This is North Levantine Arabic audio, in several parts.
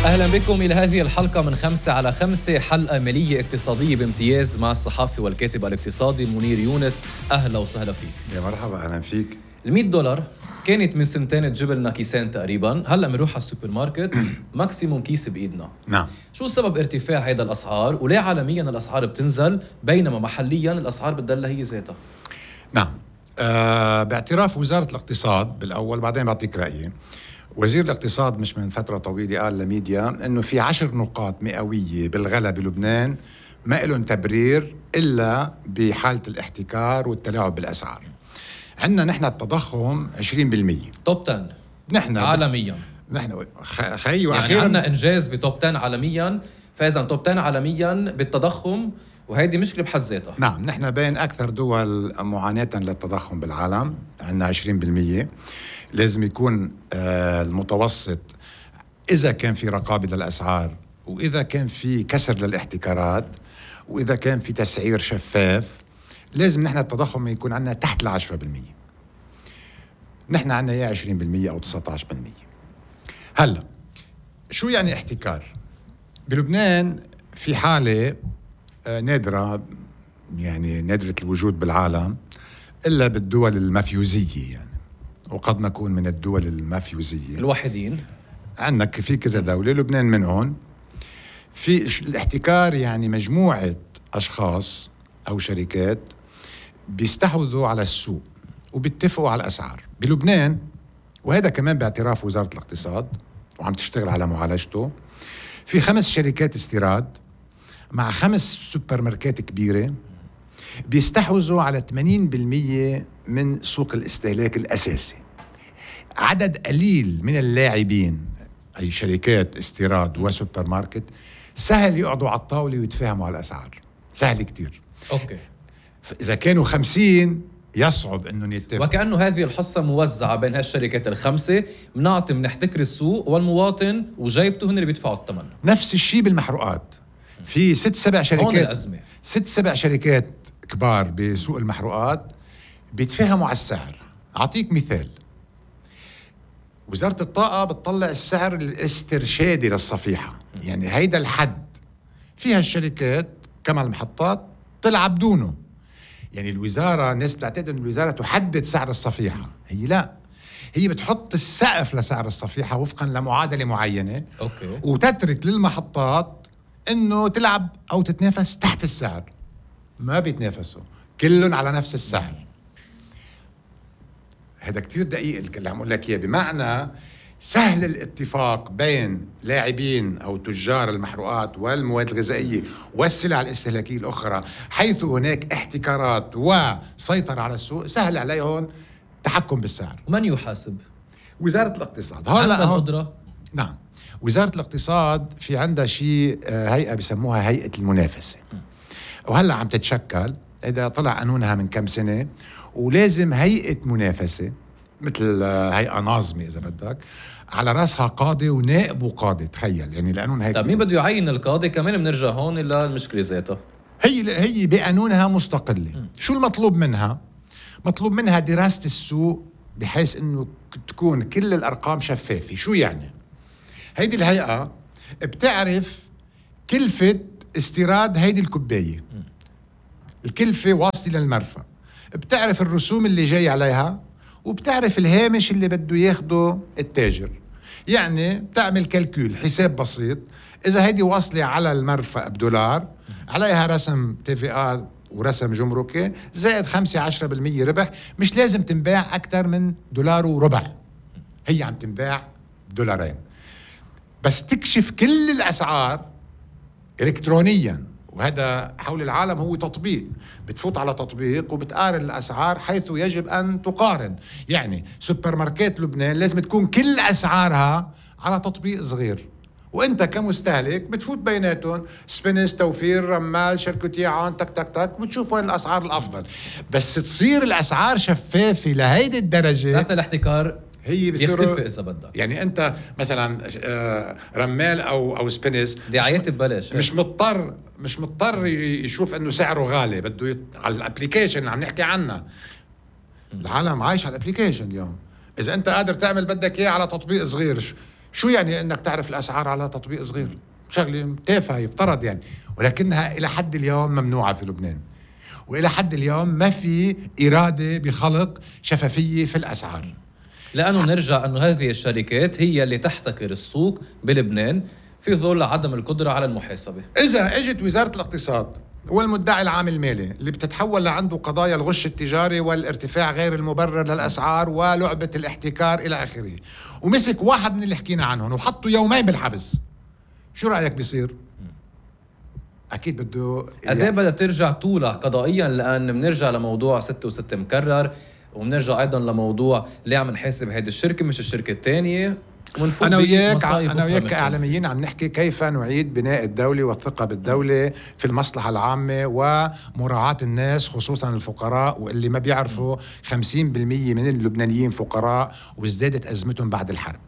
أهلا بكم إلى هذه الحلقة من 5 على 5، حلقة مالية اقتصادية بامتياز مع الصحافي والكاتب الاقتصادي منير يونس. أهلا وسهلا فيك. يا مرحبا، أهلا فيك. $100 كانت من سنتين تجيب لنا كيسين تقريبا، هلأ بنروح على السوبر ماركت ماكسيموم كيس بإيدنا. نعم. شو سبب ارتفاع هيدا الأسعار؟ وليه عالميا الأسعار بتنزل بينما محليا الأسعار بتضل هي ذاتها؟ نعم. باعتراف وزارة الاقتصاد بالأول، بعدين بعطيك رأيي. وزير الاقتصاد مش من فترة طويلة قال لميديا إنه في 10 نقاط مئوية بالغلا بلبنان ما إلهم تبرير إلا بحالة الاحتكار والتلاعب بالأسعار. عندنا نحن التضخم 20%. توب 10 نحن عالميا. نحن خي وأخيرا يعني عندنا إنجاز بتوب 10 عالميا، فإذا توب 10 عالميا بالتضخم، وهيدي مشكلة بحد ذاتها. نعم، نحن بين أكثر دول معاناة للتضخم بالعالم، عندنا 20%. لازم يكون المتوسط إذا كان في رقابة للأسعار، وإذا كان في كسر للاحتكارات، وإذا كان في تسعير شفاف، لازم نحن التضخم يكون عندنا تحت 10%. نحن عندنا يا 20% أو 19%. هلأ شو يعني احتكار؟ بلبنان في حالة نادرة، يعني نادرة الوجود بالعالم إلا بالدول المافيوزية، يعني وقد نكون من الدول المافيوزية الوحيدين. عندك في كذا دولة، لبنان منهم. في الاحتكار يعني مجموعة أشخاص أو شركات بيستحوذوا على السوق وبيتفقوا على الأسعار بلبنان، وهذا كمان باعتراف وزارة الاقتصاد وعم تشتغل على معالجته. في 5 شركات استيراد مع 5 سوبر ماركات كبيرة بيستحوذوا على 80% من سوق الاستهلاك الأساسي. عدد قليل من اللاعبين، أي شركات استيراد وسوبر ماركت، سهل يقعدوا على الطاولة ويتفاهموا على الأسعار، سهل كتير. أوكي. إذا كانوا 50 يصعب إنه يتفقوا. وكأنه هذه الحصة موزعة بين هالشركات ال5، بنحتكر السوق والمواطن وجايبته هن اللي بيدفعوا الثمن. نفس الشيء بالمحروقات. في 6-7 شركات، هون الأزمة. 6-7 شركات كبار بسوق المحروقات بيتفاهموا على السعر. أعطيك مثال، وزارة الطاقة بتطلع السعر الاسترشادي للصفيحة، يعني هيدا الحد. فيها الشركات كما المحطات تلعب دونه. يعني الوزارة، الناس بتعتقد أن الوزارة تحدد سعر الصفيحة، هي لا، هي بتحط السقف لسعر الصفيحة وفقا لمعادلة معينة. أوكي. وتترك للمحطات أنه تلعب أو تتنافس تحت السعر. ما بيتنافسوا، كلهم على نفس السعر. هذا كتير دقيق اللي عم أقول لك إياه، بمعنى سهل الاتفاق بين لاعبين أو تجار المحروقات والمواد الغذائية والسلع الاستهلاكية الأخرى، حيث هناك احتكارات وسيطرة على السوق، سهل عليهم تحكم بالسعر. ومن يحاسب؟ وزارة الاقتصاد عندها القدرة. نعم، وزارة الاقتصاد في عندها شيء، هيئة بسموها هيئة المنافسة، وهلأ عم تتشكل. إذا طلع قانونها من كم سنة، ولازم هيئة منافسة مثل هيئة ناظمة إذا بدك، على رأسها قاضي ونائب وقاضي. تخيل يعني القانون هيك. طيب مين بده يعين القاضي؟ كمان بنرجع هون للمشكلة ذاتها. هي بقانونها مستقلة. شو المطلوب منها؟ مطلوب منها دراسة السوق بحيث إنه تكون كل الأرقام شفافة. شو يعني؟ هيدي الهيئة بتعرف كلفة استيراد هيدي الكوباية، الكلفة واصلة للمرفأ، بتعرف الرسوم اللي جاي عليها، وبتعرف الهامش اللي بده ياخده التاجر. يعني بتعمل كالكول، حساب بسيط. إذا هيدي واصلة على المرفأ $1، عليها رسم TVA ورسم جمركي زائد 5-10% ربح، مش لازم تنباع أكثر من $1.25. هي عم تنباع $2. بس تكشف كل الأسعار إلكترونياً، وهذا حول العالم هو تطبيق. بتفوت على تطبيق وبتقارن الأسعار حيث يجب أن تقارن. يعني سوبر ماركت لبنان لازم تكون كل أسعارها على تطبيق صغير، وانت كمستهلك بتفوت بيناتهم، سبينس، توفير، رمال، شركتي عون، تك تك تك، وتشوف وين الأسعار الأفضل. بس تصير الأسعار شفافة لهيدي الدرجة، ذات الاحتكار هي يختفي إذا بدك. يعني أنت مثلا رمال أو سبينس دعايات ببلاش، مش مضطر يشوف انه سعره غالي، بده على الابليكيشن اللي عم نحكي عنها. العالم عايش على الابليكيشن اليوم. اذا انت قادر تعمل بدك اياه على تطبيق صغير، شو يعني انك تعرف الاسعار على تطبيق صغير؟ شغله تافهه يفترض يعني، ولكنها الى حد اليوم ممنوعه في لبنان، والى حد اليوم ما في اراده بخلق شفافيه في الاسعار. لأنه نرجع أنه هذه الشركات هي اللي تحتكر السوق بلبنان في ظل عدم القدرة على المحاسبة. إذا اجت وزارة الاقتصاد والمدعي العام المالي اللي بتتحول لعنده قضايا الغش التجاري والارتفاع غير المبرر للأسعار ولعبة الاحتكار إلى آخره، ومسك واحد من اللي حكينا عنهم وحطه يومين بالحبس، شو رأيك بيصير؟ أكيد بده قد ايه بدها ترجع تولع قضائيا، لأن بنرجع لموضوع 6 مكرر، وبنرجع أيضا لموضوع ليه عم نحاسب هيدي الشركة مش الشركة الثانية. أنا وياك كإعلاميين عم نحكي كيف نعيد بناء الدولة والثقة بالدولة في المصلحة العامة ومراعاة الناس خصوصا الفقراء، واللي ما بيعرفوا 50% من اللبنانيين فقراء وازدادت أزمتهم بعد الحرب،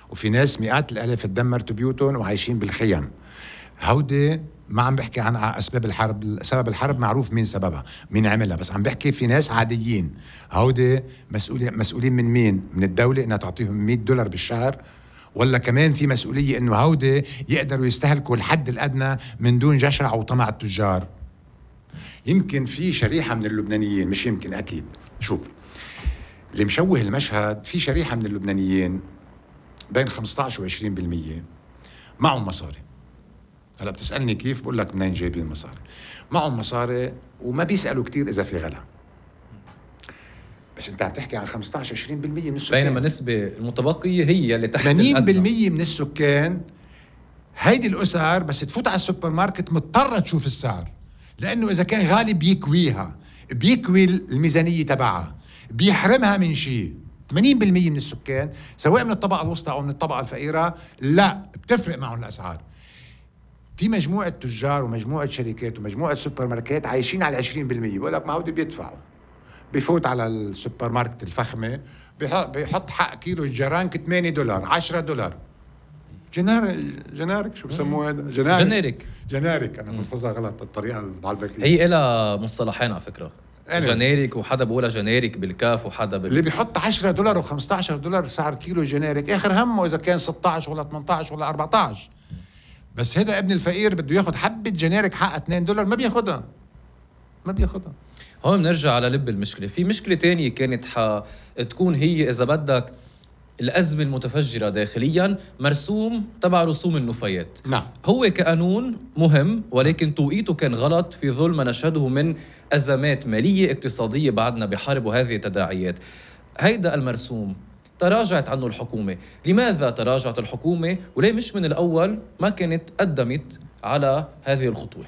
وفي ناس مئات الآلاف تدمرت بيوتهم وعايشين بالخيم. هودي ما عم بحكي عن أسباب الحرب، سبب الحرب معروف مين سببها مين عملها، بس عم بحكي في ناس عاديين. هودي مسؤولين من مين؟ من الدولة إنها تعطيهم $100 بالشهر، ولا كمان في مسؤولية إنه هودي يقدروا يستهلكوا الحد الأدنى من دون جشع وطمع التجار؟ يمكن في شريحة من اللبنانيين، مش يمكن أكيد، شوف اللي مشوه المشهد، في شريحة من اللبنانيين بين 15 و20% معهم مصاري. هلا بتسألني كيف؟ بقول لك منين جايبين مصاري؟ معهم مصاري وما بيسألوا كتير إذا في غلا، بس أنت عم تحكي عن 15-20% من السكان، بينما النسبة المتبقية هي اللي تحت 80% من السكان. هيدي الأسر بس تفوت على السوبر ماركت مضطرة تشوف السعر، لأنه إذا كان غالي بيكويها، بيكوي الميزانية تبعها، بيحرمها من شيء. 80% من السكان سواء من الطبقة الوسطى أو من الطبقة الفقيرة لا بتفرق معهم الأسعار. في مجموعة تجار ومجموعة شركات ومجموعة سوبر ماركت عايشين على 20%. بقول لك ما هودي بيدفعوا، بيفوت على السوبر ماركت الفخمة بيحط حق كيلو الجرانك $8 $10. جنارك شو بسموه هذا؟ جنارك أنا بلفظها غلط الطريقة المعلبكية. هي إلها مصطلحين على فكرة، جنارك، وحدا بقولها جنارك بالكاف وحدا اللي بيحط $10 و$15 سعر كيلو جنارك آخر همه إذا كان 16 ولا 18 ولا 14. بس هذا ابن الفقير بده ياخد حبة جنارك حقها $2 ما بياخدها. هون بنرجع على لب المشكلة. في مشكلة تانية كانت تكون هي إذا بدك الأزمة المتفجرة داخليا، مرسوم تبع رسوم النفايات. نعم. هو كقانون مهم، ولكن توقيته كان غلط في ظل ما نشهده من أزمات مالية اقتصادية بعدنا بحرب وهذه التداعيات. هيدا المرسوم تراجعت عنه الحكومة. لماذا تراجعت الحكومة؟ وليه مش من الأول ما كانت قدمت على هذه الخطوة؟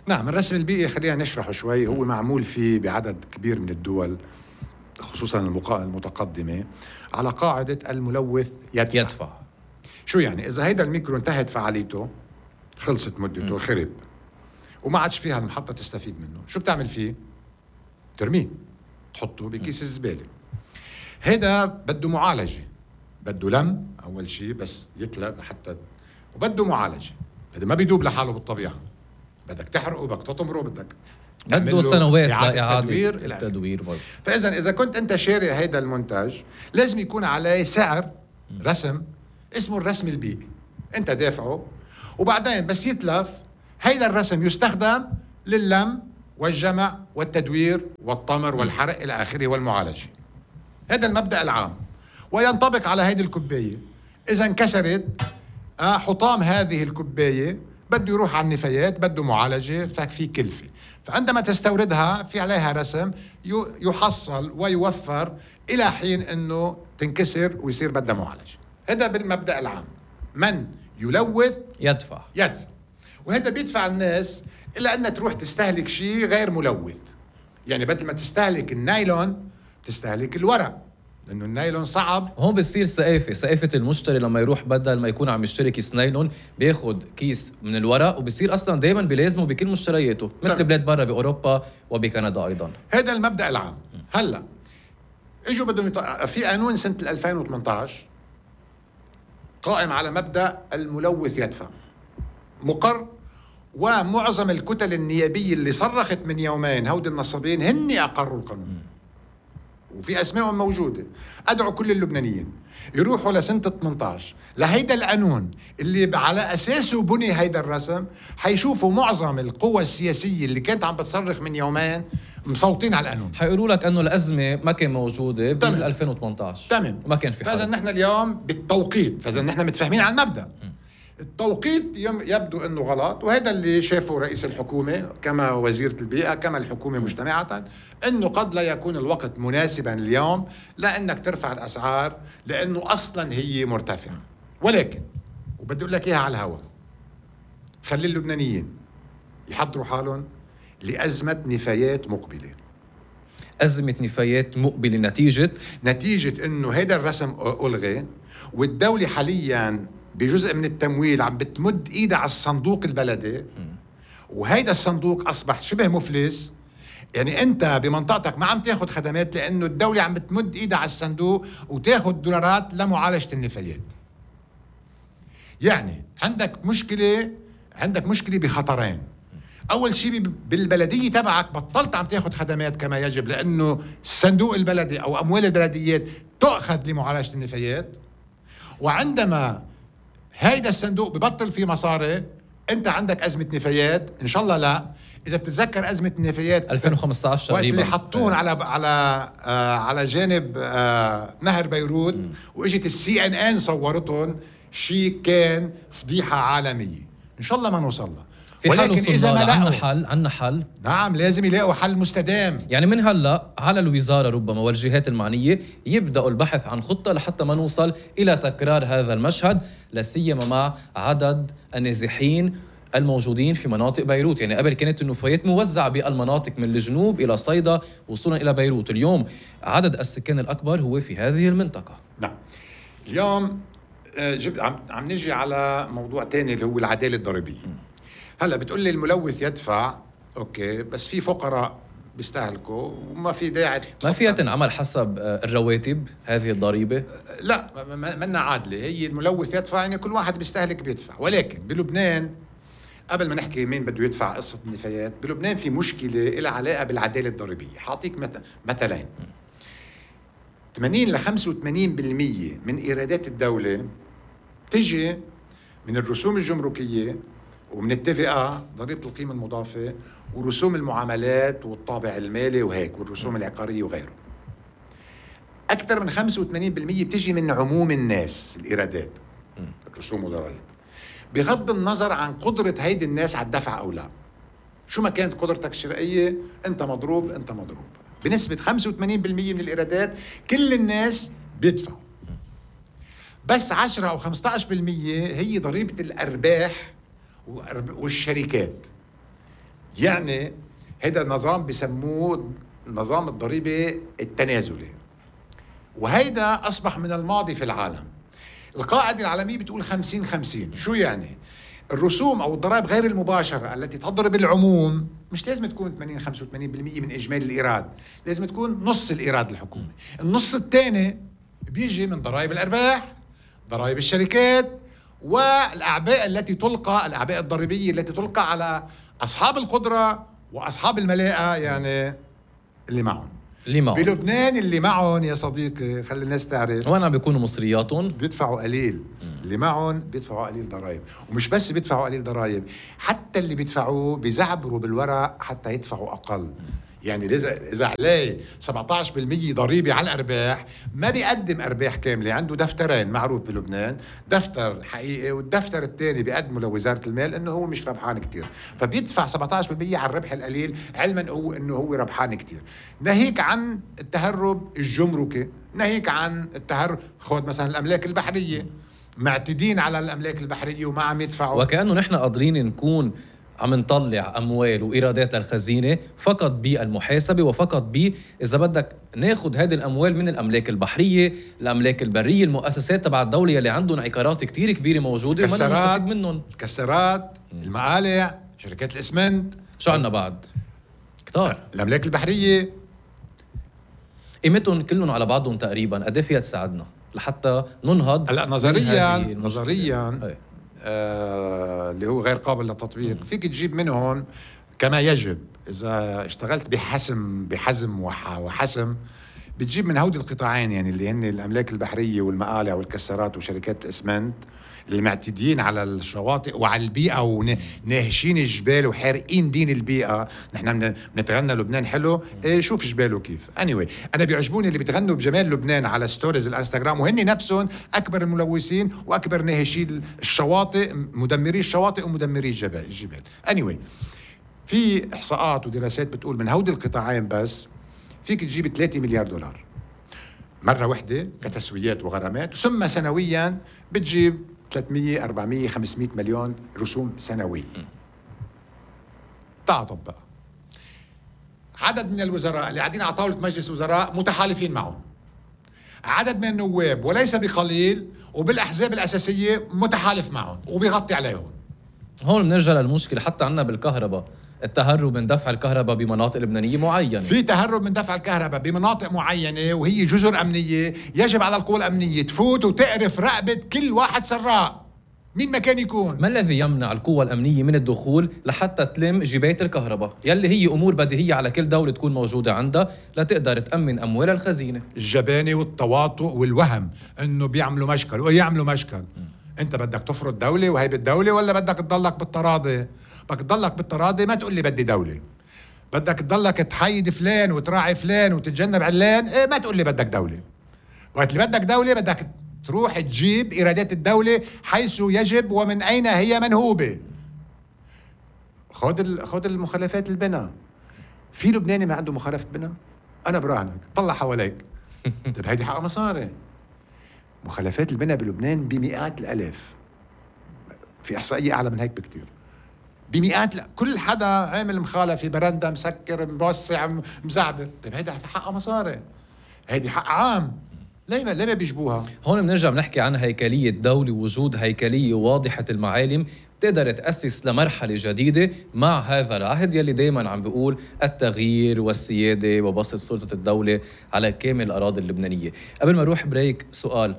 نعم، الرسم البيئي خلينا نشرحه شوي. هو معمول فيه بعدد كبير من الدول خصوصا المتقدمة على قاعدة الملوث يدفع. شو يعني؟ إذا هيدا الميكرو انتهت فعاليته، خلصت مدته، خرب وما عادش فيها المحطة تستفيد منه، شو بتعمل فيه؟ ترميه، تحطه بكيس الزبالة. هيدا بده معالجة، بده لم أول شيء بس يتلم حتى، وبده معالجة. هذا ما بيدوب لحاله بالطبيعة، بدك تحرقه، بدك تطمره، بدك بده سنوات لإعادة التدوير. فإذا إذا كنت أنت شاري هيدا المنتج لازم يكون عليه سعر رسم اسمه الرسم البيئي أنت دافعه، وبعدين بس يتلف هيدا الرسم يستخدم لللم والجمع والتدوير والطمر والحرق إلى آخره والمعالجة. هذا المبدأ العام، وينطبق على هيدي الكوباية. إذا انكسرت حطام هذه الكوباية بده يروح على النفايات، بده معالجة، ففي كلفة. فعندما تستوردها في عليها رسم يحصل ويوفر إلى حين أنه تنكسر ويصير بدها معالجة. هذا بالمبدأ العام. من يلوث يدفع. وهذا بيدفع الناس إلا أنها تروح تستهلك شيء غير ملوث. يعني بدل ما تستهلك النايلون تستهلك الورق، لأنه النايلون صعب. هون بتصير ثقافة المشتري لما يروح بدل ما يكون عم يشتري كيس نايلون بياخد كيس من الورق، وبصير أصلا دايما بلازمه بكل مشترياته مثل بلاد برا بأوروبا وبكندا أيضا. هذا المبدأ العام. هلا اجوا بدهم في قانون سنة 2018 قائم على مبدأ الملوث يدفع، مقر، ومعظم الكتل النيابية اللي صرخت من يومين هود النصابين هن أقروا القانون، وفي أسمائهم موجودة. أدعو كل اللبنانيين يروحوا لسنة 18 لهيدا القانون اللي على أساسه بني هيدا الرسم، حيشوفوا معظم القوى السياسية اللي كانت عم بتصرخ من يومين مصوتين على القانون. حيقولوا لك انه الازمه ما كان موجوده بال 2018. تمام. ما كان في حل. فاذا نحن اليوم بالتوقيت، فاذا نحن متفاهمين على المبدا. التوقيت يبدو انه غلط، وهذا اللي شافه رئيس الحكومه كما وزيره البيئه كما الحكومه مجتمعه، انه قد لا يكون الوقت مناسبا اليوم لانك ترفع الاسعار لانه اصلا هي مرتفعه. ولكن وبدي اقول لك اياها على الهواء، خلي اللبنانيين يحضروا حالهم لازمه نفايات مقبله. أزمة نفايات مقبلة نتيجة انه هذا الرسم الغي، والدولة حاليا بجزء من التمويل عم بتمد ايدها على الصندوق البلدي، وهيدا الصندوق اصبح شبه مفلس. يعني انت بمنطقتك ما عم تاخد خدمات لانه الدولة عم بتمد ايدها على الصندوق وتاخد دولارات لمعالجة النفايات. يعني عندك مشكلة بخطرين. اول شيء بالبلديه تبعك بطلت عم تاخذ خدمات كما يجب لانه الصندوق البلدي او اموال البلديات تؤخذ لمعالجه النفايات، وعندما هيدا الصندوق ببطل فيه مصاري انت عندك ازمه نفايات. ان شاء الله لا، اذا بتتذكر ازمه النفايات 2015 وقت تقريبا اللي حطوهم على جانب نهر بيروت واجت CNN صورتهم، شيء كان فضيحه عالميه. ان شاء الله ما نوصل لها، ولكن إذا ما لقوا عنا حل. نعم لازم يلاقوا حل مستدام. يعني من هلأ على الوزارة ربما والجهات المعنية يبدأوا البحث عن خطة لحتى ما نوصل إلى تكرار هذا المشهد، لا سيما مع عدد النازحين الموجودين في مناطق بيروت. يعني قبل كانت النفايات موزعة بالمناطق من الجنوب إلى صيدا وصولا إلى بيروت، اليوم عدد السكان الأكبر هو في هذه المنطقة. نعم. اليوم عم نجي على موضوع تاني اللي هو العدالة الضريبية. هلا بتقول لي الملوث يدفع، اوكي، بس في فقراء بيستهلكوا وما في داعي. ما فيها تنعمل حسب الرواتب هذه الضريبة؟ لا، منا عادلة. هي الملوث يدفع يعني كل واحد بيستهلك بيدفع. ولكن بلبنان قبل ما نحكي مين بده يدفع قصة النفايات، بلبنان في مشكلة لها علاقة بالعدالة الضريبية. حاعطيك مثلين. 80 ل 85% من إيرادات الدولة تجي من الرسوم الجمركية ومن التفقة، ضريبة القيمة المضافة، ورسوم المعاملات والطابع المالي وهيك، والرسوم العقارية وغيره. أكثر من 85% بتجي من عموم الناس الإيرادات، الرسوم والضرائب، بغض النظر عن قدرة هيدي الناس على الدفع أو لا. شو ما كانت قدرتك الشرائية أنت مضروب. بنسبة 85% من الإيرادات كل الناس بيدفعوا. بس 10 أو 15% هي ضريبة الأرباح والشركات. يعني هذا النظام بسموه نظام الضريبة التنازلي، وهيدا أصبح من الماضي في العالم. القاعدة العالمية بتقول 50-50. شو يعني؟ الرسوم أو الضرائب غير المباشرة التي تضرب العموم مش لازم تكون 85% من إجمالي الإيراد، لازم تكون نص الإيراد الحكومي. النص الثاني بيجي من ضرائب الأرباح، ضرائب الشركات، والأعباء الأعباء الضريبية التي تلقى على أصحاب القدرة وأصحاب الملاءة، يعني اللي معهم. بلبنان اللي معهم يا صديقي، خلي الناس تعرف، وين عم بيكونوا مصرياتهم بيدفعوا قليل. اللي معهم بيدفعوا قليل ضرائب، ومش بس بيدفعوا قليل ضرائب، حتى اللي بيدفعوه بيزعبروا بالورق حتى يدفعوا أقل. يعني إذا عليه 17% ضريبة على الأرباح، ما بيقدم أرباح كاملة. عنده دفترين معروف بلبنان، دفتر حقيقي والدفتر الثاني بيقدمه لوزارة المال إنه هو مش ربحان كتير، فبيدفع 17% على الربح القليل، علما إنه هو ربحان كتير. ناهيك عن التهرب الجمركي، ناهيك عن التهرب، خذ مثلا الأملاك البحرية، معتدين على الأملاك البحرية وما عم يدفعوا. وكأنه نحن قادرين نكون عم نطلع أموال وإيرادات الخزينة فقط بالمحاسبة، وفقط إذا بدك ناخد هذه الأموال من الأملاك البحرية، الأملاك البرية، المؤسسات تبع الدولة اللي عندهم عقارات كتير كبيرة موجودة وما نستفيد منهم. الكسرات، المقالع، شركات الإسمنت، شو عنا بعد؟ كتار. الأملاك البحرية قيمتهم كلهم على بعضهم تقريبا قد ايه فيها تساعدنا لحتى ننهض؟ هلا نظريا اللي هو غير قابل للتطبيق، فيك تجيب منهم كما يجب إذا اشتغلت بحزم وحسم، بتجيب من هودي القطاعين، يعني اللي هن الأملاك البحرية والمقالع والكسارات وشركات الإسمنت اللي معتدين على الشواطئ وعلى البيئة وناهشين الجبال وحارقين دين البيئة. نحن بنتغنى لبنان حلو، شوف جباله كيف. anyway أنا بيعجبوني اللي بيتغنوا بجمال لبنان على ستوريز الانستغرام، وهن نفسهم أكبر الملوثين وأكبر ناهشي الشواطئ، مدمري الشواطئ ومدمري الجبال. anyway في إحصاءات ودراسات بتقول من هودي القطاعين بس فيك تجيب 3 مليار دولار مرة واحدة كتسويات وغرامات، ثم سنويا بتجيب 300 400 500 مليون رسوم سنوية. تعال بقى عدد من الوزراء اللي قاعدين على طاولة مجلس وزراء متحالفين معهم، عدد من النواب وليس بقليل وبالأحزاب الأساسية متحالف معهم وبيغطي عليهم. هون بنرجع للمشكلة حتى عنا بالكهرباء، التهرب من دفع الكهرباء بمناطق لبنانية معينة. في تهرب من دفع الكهرباء بمناطق معينة وهي جزر أمنية، يجب على القوى الأمنية تفوت وتقرف رقبة كل واحد سراق مين ما كان يكون. ما الذي يمنع القوى الأمنية من الدخول لحتى تلم جباية الكهرباء يلي هي أمور بديهية على كل دولة تكون موجودة عندها لتقدر تأمن أموال الخزينة؟ الجبانة والتواطؤ والوهم إنه بيعملوا مشكل ويعملوا مشكل. أنت بدك تفرض دولة وهي بالدولة ولا بدك تضلك بالتراضي؟ بدك تضلك بالتراضي، ما تقول لي بدي دولة. بدك تضلك تحيد فلان وتراعي فلان وتتجنب علان، ما تقول لي بدك دولة. وقت اللي بدك دولة بدك تروح تجيب إيرادات الدولة حيث يجب ومن أين هي منهوبة. خد المخالفات البناء. في لبناني ما عنده مخالفة بناء؟ أنا براهنك، طلع حواليك. طيب هيدي حق مصاري. مخالفات البناء بلبنان بمئات الألاف، في إحصائية أعلى من هيك بكتير، بمئات. لا كل حدا عامل مخالفة، برندة، مسكر، موسع، مزعبر. طيب هيدا حق مصاري، هيدي حق عام، ليه ما بيجبوها؟ هون بنرجع بنحكي عن هيكلية دولة، وجود هيكلية واضحة المعالم تقدر تأسس لمرحلة جديدة مع هذا العهد يلي دايما عم بيقول التغيير والسيادة وبسط سلطة الدولة على كامل الأراضي اللبنانية. قبل ما نروح بريك، سؤال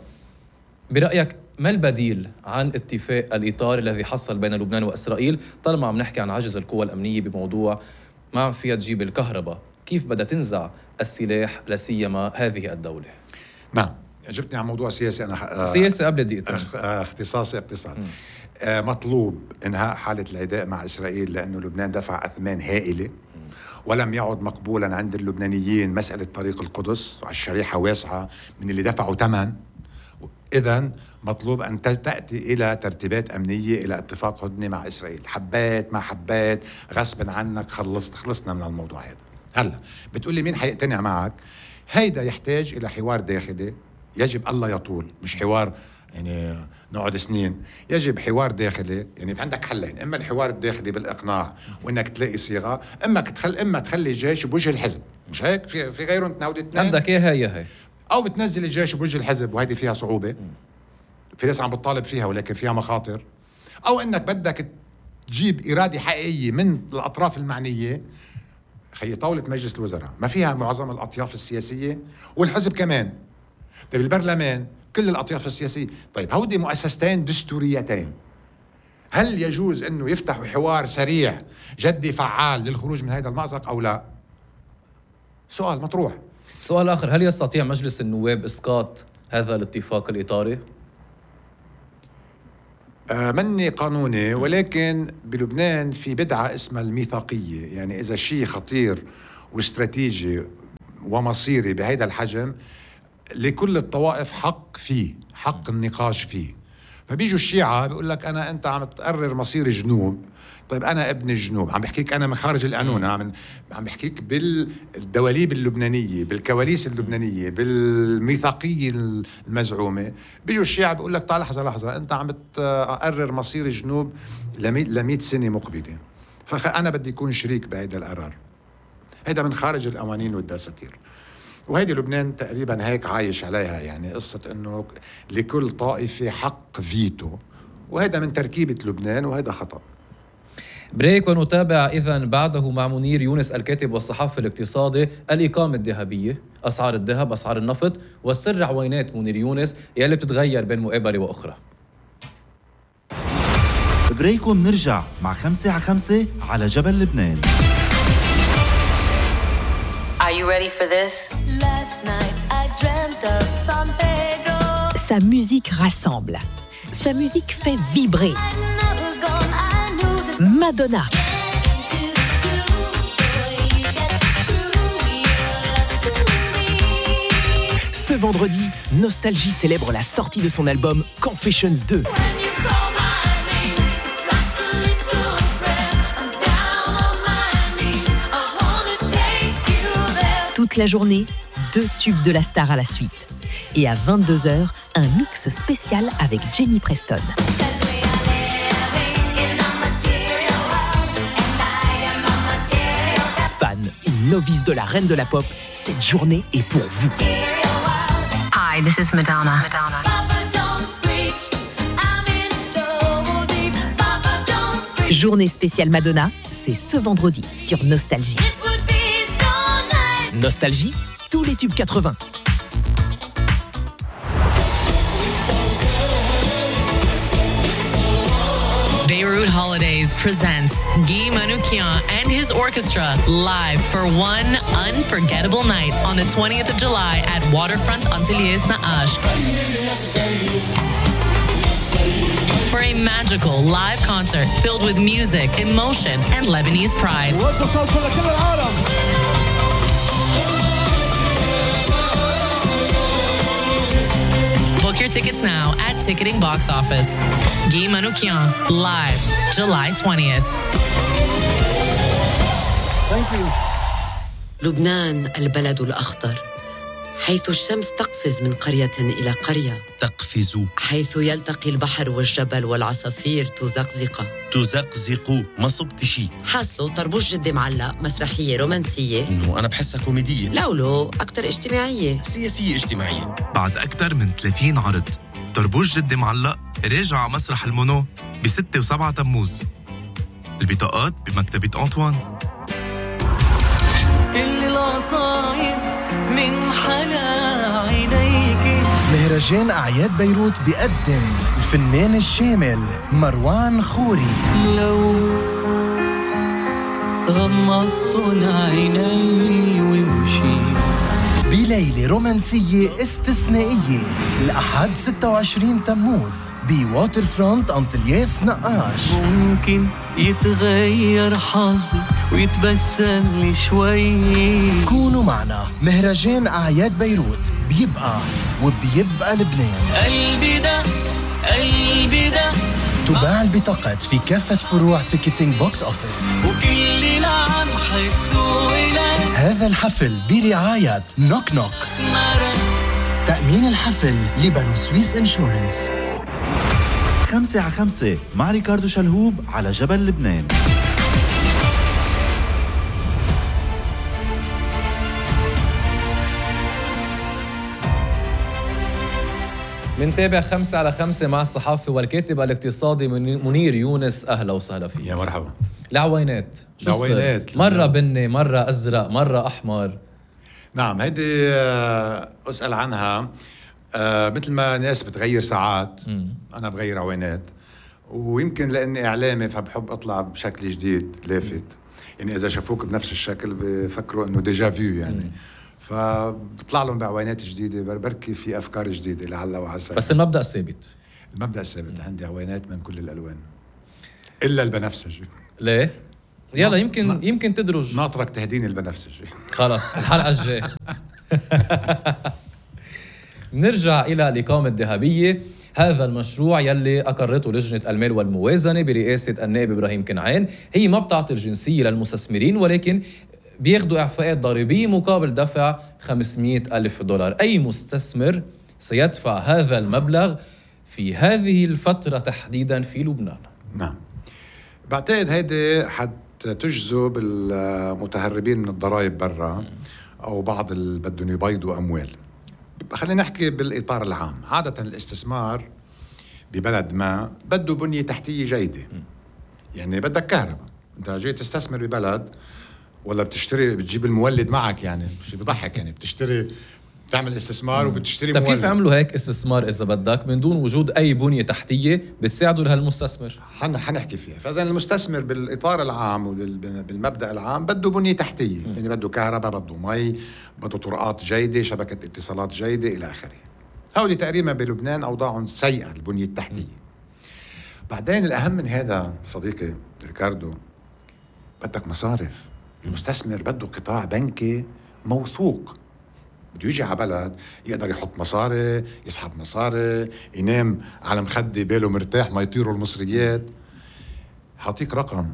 برأيك ما البديل عن اتفاق الإطار الذي حصل بين لبنان وإسرائيل؟ طالما عم نحكي عن عجز القوى الأمنية بموضوع ما فيها تجيب الكهرباء، كيف بدها تنزع السلاح لسيما هذه الدولة؟ نعم، جبتني عن موضوع سياسي. أنا سياسي قبل دقيقتين. اختصاصي اقتصاد. مطلوب إنهاء حالة العداء مع إسرائيل لأنه لبنان دفع أثمان هائلة ولم يعد مقبولا عند اللبنانيين مسألة طريق القدس، الشريحة واسعة من اللي دفعوا ثمن. إذن مطلوب أن تأتي إلى ترتيبات أمنية، إلى اتفاق هدنة مع إسرائيل، حبات ما حبات غصبا عنك خلصنا من الموضوع هذا. هلا بتقولي مين حيقتنع معك؟ هيدا يحتاج إلى حوار داخلي، يجب الله يطول، مش حوار يعني نقعد سنين. يجب حوار داخلي، يعني في عندك حلين، إما الحوار الداخلي بالإقناع وإنك تلاقي صيغة، إما تخلي الجيش بوجه الحزب، مش هيك؟ في غيرهم تناود اثنين. عندك يا هي أو بتنزل الجيش بوجه الحزب، وهذه فيها صعوبة، في ناس عم بتطالب فيها ولكن فيها مخاطر. أو إنك بدك تجيب إرادة حقيقية من الأطراف المعنية. خي طاولة مجلس الوزراء ما فيها معظم الأطياف السياسية والحزب كمان. طيب البرلمان كل الأطياف السياسية. طيب هودي مؤسستين دستوريتين، هل يجوز أنه يفتحوا حوار سريع جدي فعال للخروج من هذا المأزق أو لا؟ سؤال مطروح. سؤال آخر، هل يستطيع مجلس النواب إسقاط هذا الاتفاق الإطاري؟ مني قانوني، ولكن بلبنان في بدعة اسمها الميثاقية، يعني إذا شيء خطير واستراتيجي ومصيري بهذا الحجم لكل الطوائف حق فيه، حق النقاش فيه. فبيجوا الشيعة بيقول لك أنت عم تقرر مصير جنوب. طيب أنا ابن الجنوب، عم بحكيك أنا من خارج القانون، عم بحكيك بالدواليب اللبنانية، بالكواليس اللبنانية، بالميثاقية المزعومة. بيجوا الشيعة بيقول لك تعال لحظة، أنت عم تقرر مصير الجنوب ل100 سنة مقبلة، فأنا بدي يكون شريك بهذا القرار. هذا من خارج القوانين والدساتير، وهيدي لبنان تقريبا هيك عايش عليها، يعني قصة انه لكل طائفة حق فيتو، وهذا من تركيبة لبنان وهذا خطأ. بريك ونتابع إذن بعده مع منير يونس الكاتب والصحفي الاقتصادي الإقامة الذهبية، أسعار الذهب، أسعار النفط، والسر عوينات منير يونس يلي بتتغير بين مقابلة وأخرى. بريك ونرجع مع 5 على 5 على جبل لبنان. Are you ready for this? Last night Sa musique rassemble. Sa musique fait vibrer. Madonna. Ce vendredi, Nostalgie célèbre la sortie de son album Confessions 2. Toute la journée, 2 tubes de la star à la suite. Et à 22h, un mix spécial avec Jenny Preston. Fan ou novice de la reine de la pop, cette journée est pour vous. Hi, this is Madonna. Journée spéciale Madonna, c'est ce vendredi sur Nostalgie. Nostalgie, tous les tubes 80. Beirut Holidays presents Guy Manoukian and his orchestra live for one unforgettable night on the 20th of July at Waterfront Antilles Na'ash. For a magical live concert filled with music, emotion, and Lebanese pride. Book your tickets now at Ticketing Box Office. Guy Manoukian, live, July 20th. لبنان البلد الأخضر، حيث الشمس تقفز من قرية إلى قرية، تقفز، حيث يلتقي البحر والجبل والعصافير تزقزق. تزقزق، ما صبت شي. حاصله طربوش جدي معلق، مسرحية رومانسية. إنه أنا بحسها كوميدية. لولو أكتر اجتماعية، سياسية اجتماعية. بعد أكثر من 30 عرض، طربوش جدي معلق راجع على مسرح المونو ب6 و7 تموز. البطاقات بمكتبة أنطوان. كل القصايد من حلا عينيك. مهرجان أعياد بيروت بيقدم الفنان الشامل مروان خوري. لو غمضت عيني وامشي بليلة رومانسية استثنائية الأحد 26 تموز بواتر فرونت أنطلياس نقاش. ممكن يتغير حظي ويتبسم لي شوي. كونوا معنا، مهرجان أعياد بيروت بيبقى وبيبقى لبنان. قلبي ده قلبي ده. تباع البطاقات في كافة فروع تيكتينج بوكس أوفيس. وكل اللي عم حسوا إلي. هذا الحفل برعاية نوك نوك. تأمين الحفل لبنو سويس انشورنس. 5 مع ريكاردو شلهوب على جبل لبنان. منتابع 5 مع الصحافي والكاتب الاقتصادي منير يونس. أهلا وسهلا فيك. يا مرحبا. العوينات شو العوينات مرة بني، مرة أزرق، مرة أحمر. نعم، هيدي أسأل عنها مثل ما ناس بتغير ساعات. أنا بغير عوينات، ويمكن لأني إعلامي فبحب أطلع بشكل جديد لافت. يعني إذا شافوك بنفس الشكل بفكروا إنه ديجا فيو يعني. فبطلع لهم بعوينات جديدة، بركي في أفكار جديدة لعل وعسى. بس المبدأ الثابت. المبدأ الثابت عندي عوينات من كل الألوان إلا البنفسجي. ليه؟ يلا يمكن تدرج. ناطرك تهديني البنفسجي. خلاص الحلقة الجاية. نرجع إلى الإقامة الذهبية. هذا المشروع يلي أقرته لجنة المال والموازنة برئاسة النائب إبراهيم كنعان هي ما بتعطي الجنسية للمستثمرين، ولكن بياخدوا إعفاءات ضريبية مقابل دفع $500,000. أي مستثمر سيدفع هذا المبلغ في هذه الفترة تحديداً في لبنان؟ نعم، بعتقد هيدي حتجذب المتهربين من الضرائب برا أو بعض اللي بدهم يبيضوا أموال. خلينا نحكي بالإطار العام. عادة الاستثمار ببلد ما بده بنية تحتية جيدة. يعني بدك كهرباء. أنت جاي تستثمر ببلد ولا بتشتري بتجيب المولد معك؟ يعني شيء بضحك. يعني بتشتري تعمل استثمار وبتشتري مولد. طيب كيف عملوا هيك استثمار إذا بدك من دون وجود أي بنية تحتية بتساعدوا لهالمستثمر؟ حنحكي فيها. فإذا المستثمر بالإطار العام وبالمبدأ العام بده بنية تحتية. يعني بده كهرباء، بده مي، بده طرقات جيدة، شبكة اتصالات جيدة إلى آخره. هودي تقريبا بلبنان أوضاعهم سيئة البنية التحتية. بعدين الأهم من هذا صديقي ريكاردو، بدك مصارف. المستثمر بده قطاع بنكي موثوق، بده يجي على بلد يقدر يحط مصاري، يسحب مصاري، ينام على مخدة باله مرتاح ما يطيروا المصريات. هعطيك رقم: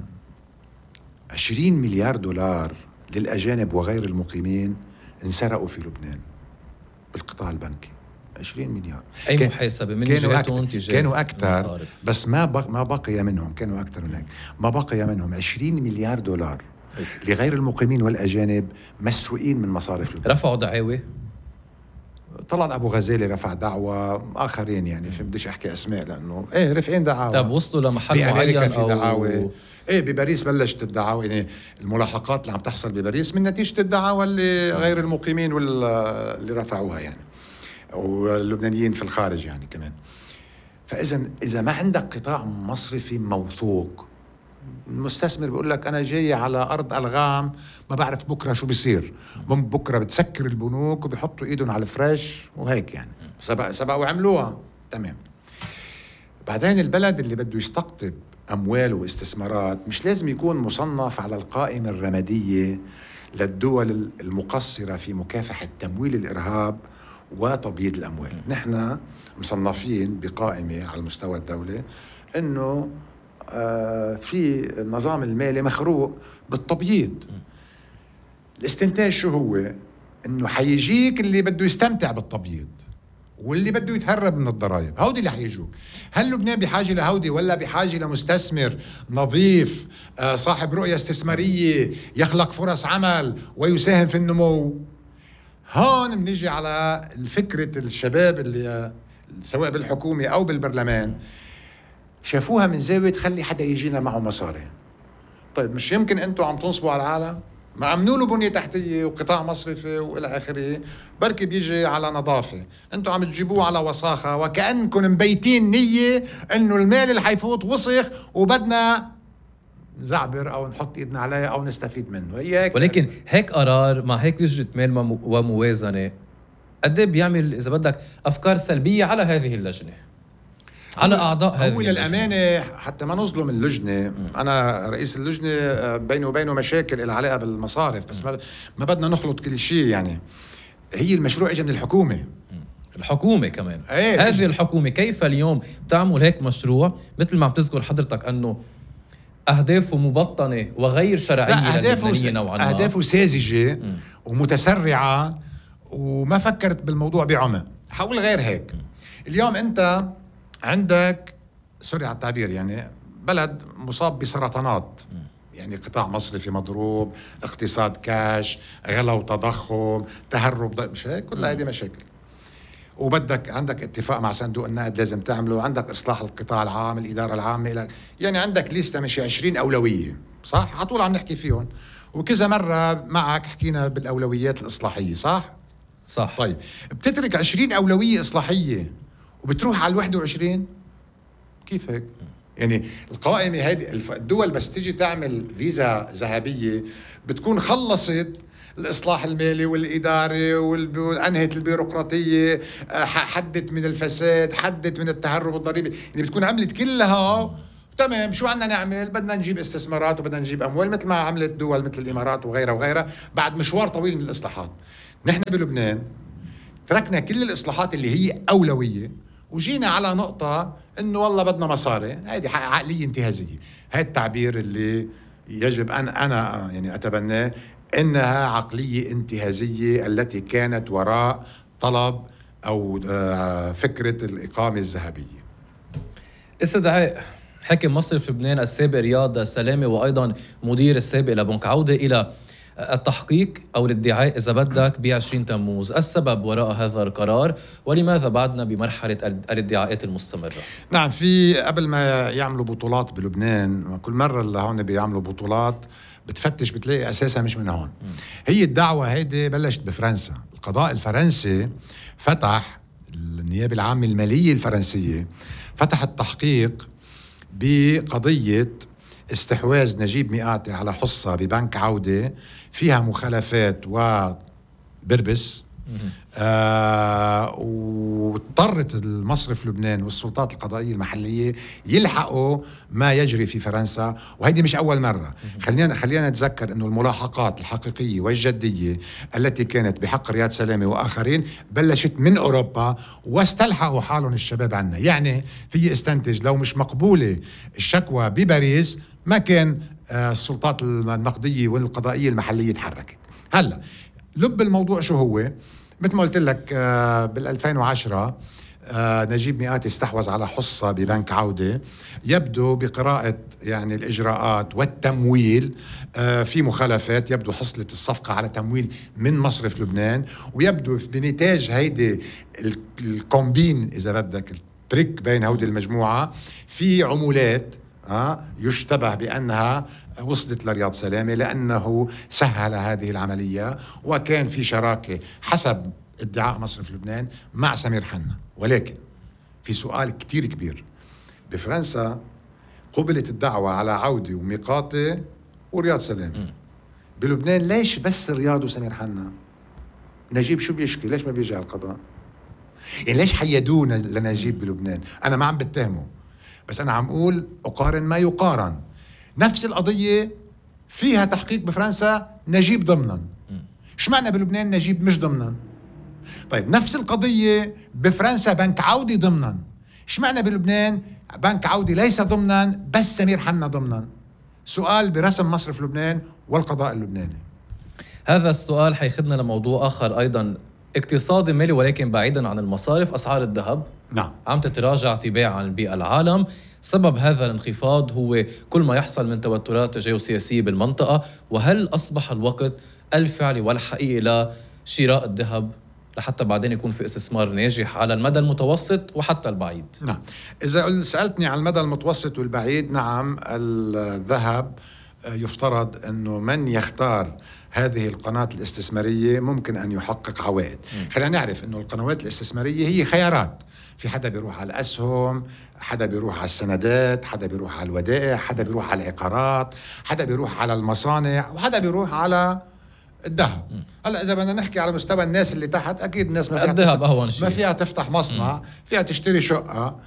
20 مليار دولار للأجانب وغير المقيمين انسرقوا في لبنان بالقطاع البنكي. 20 مليار. أي محاسبة من جهتهم تجاه كانوا أكثر، بس ما بقي منهم، كانوا أكثر من هيك، ما بقي منهم 20 مليار دولار لغير المقيمين والأجانب مسروقين من مصارف لبنان. رفعوا دعاوى؟ طلع أبو غزالي رفع دعوة، آخرين يعني في بديش أحكي أسماء لأنه رفعين دعاوى. طب وصلوا لمحل معين في دعاوى؟ بباريس بلشت الدعاوى، يعني الملاحقات اللي عم تحصل بباريس من نتيجة الدعاوى اللي غير المقيمين واللي رفعوها يعني، واللبنانيين في الخارج يعني كمان. فإذا ما عندك قطاع مصرفي موثوق، المستثمر بيقول لك أنا جاي على أرض ألغام، ما بعرف بكرة شو بيصير. بكرة بتسكر البنوك وبيحطوا إيدهم على الفريش وهيك يعني، سبقوا وعملوها تمام. بعدين البلد اللي بده يستقطب أموال واستثمارات مش لازم يكون مصنف على القائمة الرمادية للدول المقصرة في مكافحة تمويل الإرهاب وتبييض الأموال. نحن مصنفين بقائمة على المستوى الدولي إنه في النظام المالي مخروق بالتبييض. الاستنتاج شو هو؟ إنه حيجيك اللي بده يستمتع بالتبييض واللي بده يتهرب من الضرائب، هودي اللي حيجوك. هل لبنان بحاجة لهودي ولا بحاجة لمستثمر نظيف صاحب رؤية استثمارية يخلق فرص عمل ويساهم في النمو؟ هون بنيجي على فكرة الشباب اللي سواء بالحكومة أو بالبرلمان شافوها من زاوية تخلي حدا يجينا معه مصاري. طيب مش يمكن أنتوا عم تنصبوا على العالم؟ ما عملوا له بنية تحتية وقطاع مصرفي وإلى آخره، بركي بيجي على نظافة، أنتوا عم تجيبوه على وساخة، وكأنكم مبيتين نية إنه المال اللي حيفوت وسخ وبدنا نزعبر أو نحط إيدنا عليه أو نستفيد منه. هيك. ولكن هيك قرار مع هيك لجنة مال وموازنة قد ايه بيعمل إذا بدك أفكار سلبية على هذه اللجنة، على أعضاء هذه اللجنة. للأمانة حتى ما نظلم اللجنة، أنا رئيس اللجنة بينه وبينه مشاكل العلاقة بالمصارف، بس ما بدنا نخلط كل شيء يعني. هي المشروع إجا من الحكومة كمان. هذه الحكومة كيف اليوم بتعمل هيك مشروع مثل ما عم تذكر حضرتك أنه أهدافه مبطنة وغير شرعية للبنانيين نوعا ما، أهدافه ساذجة ومتسرعة وما فكرت بالموضوع بعمق. حقول غير هيك. اليوم أنت عندك سوري على التعبير يعني بلد مصاب بسرطانات، يعني قطاع مصرفي مضروب، اقتصاد كاش، غلا وتضخم، تهرب، مش هيك؟ كل هذه مشاكل. وبدك عندك اتفاق مع صندوق النقد لازم تعمله، عندك إصلاح القطاع العام، الإدارة العامة، يعني عندك ليستة مشي 20 أولوية، صح؟ عطول عم نحكي فيهم وكذا مرة معك حكينا بالأولويات الإصلاحية، صح؟ طيب بتترك 20 أولوية إصلاحية وبتروح على 21؟ كيف هيك؟ يعني القائمة هذه الدول بس تيجي تعمل فيزا ذهبية بتكون خلصت الإصلاح المالي والإداري وأنهت البيروقراطية، حدت من الفساد، حدت من التهرب الضريبي، يعني بتكون عملت كلها تمام. شو عنا نعمل؟ بدنا نجيب استثمارات وبدنا نجيب أموال مثل ما عملت دول مثل الإمارات وغيرها وغيرها بعد مشوار طويل من الإصلاحات. نحن بلبنان تركنا كل الإصلاحات اللي هي أولوية وجينا على نقطة إنه والله بدنا مصاري. هذه عقلية انتهازية، هذا التعبير اللي يجب أن أنا يعني أتبناه، إنها عقلية انتهازية التي كانت وراء طلب أو فكرة الإقامة الذهبية. استدعاء حاكم مصرف لبنان السابق رياض سلامة وأيضا مدير السابق لبنك عودة إلى التحقيق أو الادعاء إذا بدك ب20 تموز، السبب وراء هذا القرار ولماذا بعدنا بمرحلة الادعاءات المستمرة؟ نعم، في قبل ما يعملوا بطولات بلبنان كل مرة اللي هون بيعملوا بطولات بتفتش بتلاقي أساسها مش من هون. هي الدعوة هيدي بلشت بفرنسا. القضاء الفرنسي فتح، النيابة العامة المالية الفرنسية فتح التحقيق بقضية استحواذ نجيب مئاتي على حصة ببنك عودة فيها مخالفات وبربس واضطرت المصرف لبنان والسلطات القضائية المحلية يلحقوا ما يجري في فرنسا، وهيدي مش أول مرة. خلينا نتذكر أنه الملاحقات الحقيقية والجدية التي كانت بحق رياض سلامة وآخرين بلشت من أوروبا واستلحقوا حالهم الشباب عنا. يعني في استنتج لو مش مقبولة الشكوى بباريس ما كان السلطات النقدية والقضائية المحلية تحركت. هلأ لب الموضوع شو هو؟ مثل ما قلت لك بال2010 نجيب مئاتي استحوذ على حصة ببنك عودة. يبدو بقراءة يعني الإجراءات والتمويل في مخالفات، يبدو حصلت الصفقة على تمويل من مصرف لبنان، ويبدو بنتاج هيدي الكومبين إذا بدك التريك بين هودي المجموعة في عمولات يشتبه بأنها وصلت لرياض سلامة لأنه سهل هذه العملية، وكان في شراكة حسب ادعاء مصرف لبنان مع سمير حنا. ولكن في سؤال كتير كبير، بفرنسا قبلت الدعوة على عودة وميقاتي ورياض سلامة. بلبنان ليش بس رياض وسمير حنا؟ نجيب شو بيشكي؟ ليش ما بيجي على القضاء؟ يعني ليش حيدونا لنجيب بلبنان؟ أنا ما عم بتهمه، بس أنا عم أقول أقارن ما يقارن. نفس القضية فيها تحقيق بفرنسا نجيب ضمنا، شمعنا بلبنان نجيب مش ضمنا؟ طيب نفس القضية بفرنسا بنك عودي ضمنا، شمعنا بلبنان بنك عودي ليس ضمنا بس سمير حنا ضمنا؟ سؤال برسم مصرف لبنان والقضاء اللبناني. هذا السؤال حيخدنا لموضوع آخر أيضا اقتصادي مالي ولكن بعيدا عن المصارف. أسعار الذهب نعم عم تتراجع تباعا بالعالم. سبب هذا الانخفاض هو كل ما يحصل من توترات جيوسياسية بالمنطقة، وهل أصبح الوقت الفعلي والحقيقي لشراء الذهب لحتى بعدين يكون في استثمار ناجح على المدى المتوسط وحتى البعيد؟ نعم، إذا سألتني على المدى المتوسط والبعيد، نعم الذهب يفترض أنه من يختار هذه القناة الاستثمارية ممكن أن يحقق عوائد. خلينا نعرف أنه القنوات الاستثمارية هي خيارات، في حدا بيروح على الأسهم، حدا بيروح على السندات، حدا بيروح على الودائع، حدا بيروح على العقارات، حدا بيروح على المصانع، وحدا بيروح على الذهب. هلا اذا بدنا نحكي على مستوى الناس اللي تحت، اكيد الناس ما فيها الذهب اهون شيء، ما فيها تفتح مصنع، فيها تشتري شقه،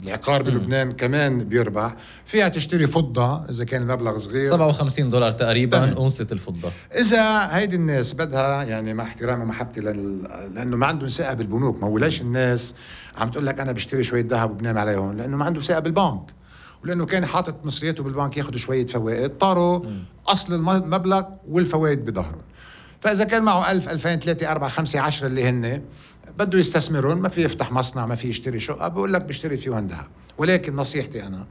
العقار بلبنان كمان بيربح، فيها تشتري فضه اذا كان المبلغ صغير، $57 تقريبا اونصه الفضه. اذا هيدي الناس بدها، يعني مع احترامي ومحبتي لانه ما عندهم ثقه بالبنوك. ما هو ليش الناس عم تقول لك انا بشتري شويه ذهب وبنام عليهم؟ لانه ما عنده ثقه بالبنك، ولانه كان حاطط مصرياته بالبنك ياخذ شويه فوائد، طاروا اصل المبلغ والفوائد بظهرهم. فاذا كان معه 1000 2000 3 4 5 10 اللي هن بده يستثمرون، ما في يفتح مصنع، ما في يشتري شقه، بقول لك بشتري فيهم ذهب. ولكن نصيحتي انا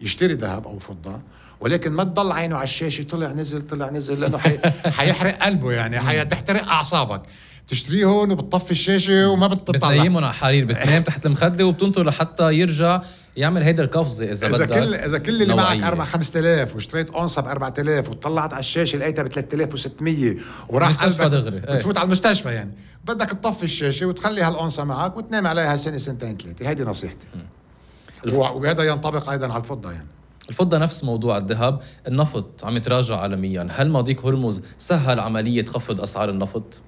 يشتري ذهب او فضه، ولكن ما تضل عينه على الشاشه طلع نزل طلع نزل، لانه حيحرق قلبه، يعني حيحترق اعصابك. تشتريه هون وبتطفي الشاشه وما بتطلع، بتنيمهم على حرير، بتنام تحت المخده وبتنطر لحتى يرجع يعمل هيدا القفزه. اذا كل اللي معك 4 5000 واشتريت اونصه ب 4000 وطلعت على الشاشه لقيتها ب 3600 وراح قلبك دغري بتفوت على المستشفى، يعني بدك تطفي الشاشه وتخلي هالأونصة معك وتنام عليها سنه سنتين ثلاثه. هيدي نصيحتي. وهذا ينطبق ايضا على الفضه. يعني الفضه نفس موضوع الذهب. النفط عم يتراجع عالميا، هل مضيق هرمز سهل عمليه خفض اسعار النفط؟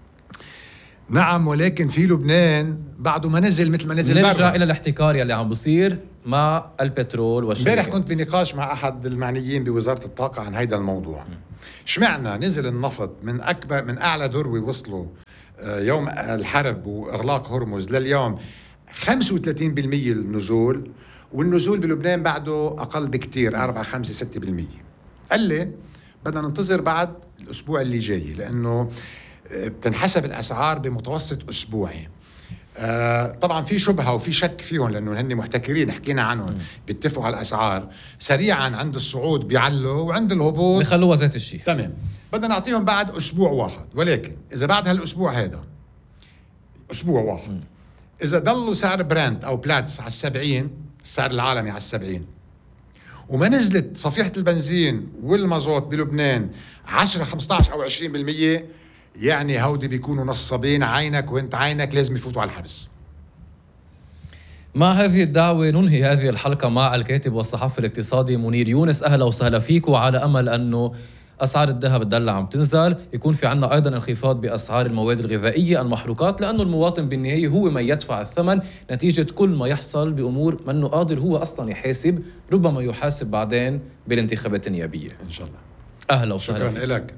نعم، ولكن في لبنان بعده ما نزل مثل ما نزل برا. نرجع الى الاحتكار يلي عم بصير مع البترول والشركات. امبارح كنت بنقاش مع احد المعنيين بوزاره الطاقه عن هيدا الموضوع. شمعنا نزل النفط من اعلى ذروه وصلوا يوم الحرب واغلاق هرمز لليوم 35% النزول، والنزول بلبنان بعده اقل بكتير 4 5 6%. قال لي بدنا ننتظر بعد الاسبوع اللي جاي، لانه بتنحسب الاسعار بمتوسط اسبوعي. طبعا في شبهه وفي شك فيهم لانه هن محتكرين، حكينا عنهم، بيتفقوا على الاسعار سريعا، عند الصعود بيعلوا وعند الهبوط بيخلوها ذات الشيء. تمام، بدنا نعطيهم بعد اسبوع واحد. ولكن اذا بعد هالاسبوع هذا اسبوع واحد اذا ضلوا سعر برنت او بلاتس على 70، السعر العالمي على 70، وما نزلت صفيحه البنزين والمازوت بلبنان 10 15 او 20%، يعني هودي بيكونوا نصابين عينك وانت عينك لازم يفوتوا على الحبس. مع هذه الدعوة ننهي هذه الحلقة مع الكاتب والصحفي الاقتصادي منير يونس. أهلا وسهلا فيك، وعلى أمل أنه أسعار الذهب تدلع عم تنزل، يكون في عنا أيضا انخفاض بأسعار المواد الغذائية المحروقات، لأنه المواطن بالنهاية هو من يدفع الثمن نتيجة كل ما يحصل بأمور منه قادر هو أصلا يحاسب، ربما يحاسب بعدين بالانتخابات النيابية. إن شاء الله. أهلا وسهلا. شكرا لك.